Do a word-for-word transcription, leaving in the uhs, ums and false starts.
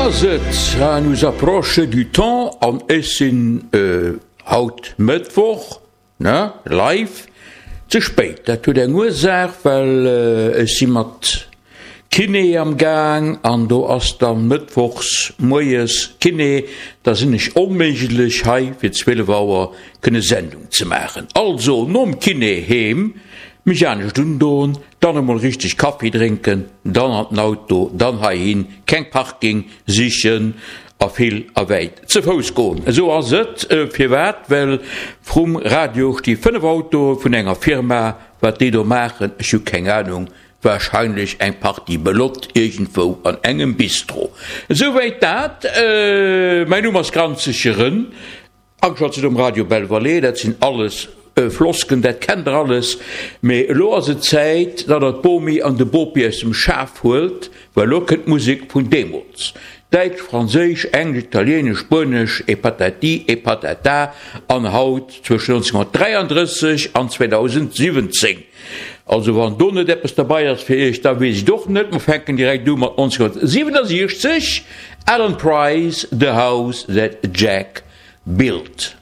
ass et, ça nous approche du temps an ech sinn haut Mëttwoch, ne, live, ze spéit. Dat huet eng Ursaach, well ech si mat Kiné am Gaang an do ass dann mëttwochs moies Kiné, da sinn ech onméiglech hei fir zwielef Auer kënne Sendung ze maachen. Also nom Kiné heem, mech anescht undoen, dann emol richteg Kaffi drénken, dann an den Auto, dann heihin, keng Parking sichen a vill a wäit ze Fouss goen. Esou ass et. Firwat? Well vrum Radio sti fënnef Autoe vun enger Firma. Wat déi do maachen, ech hu keng Anung, warscheinlech eng Partie Belotte iergendwou an engem Bistro. Esouwäit dat. Mäin Numm ass Granzege Rën. Ageschalt sidd um Radio Belle Vallée, dat sinn alles Flosken, dat kennt der alles. Mee elo ass et Zäit, datt der d'Bomi an de Bopi aus dem Schaf huelt, well elo kënnt d'Musek vun deemools. Däitsch, Franséisch, Englesch, Italienesch, Spuenesch et patati et patata an haut zwëschen nonzénhunnertdräiandrësseg an zweedausendsiwwenzéng. Also wann do net eppes derbei ass fir iech, da weess ech et och net. Mer fänken direkt u mat nonzénhunnertsiwwenasiechzeg, Alan Price, The House That Jack Built.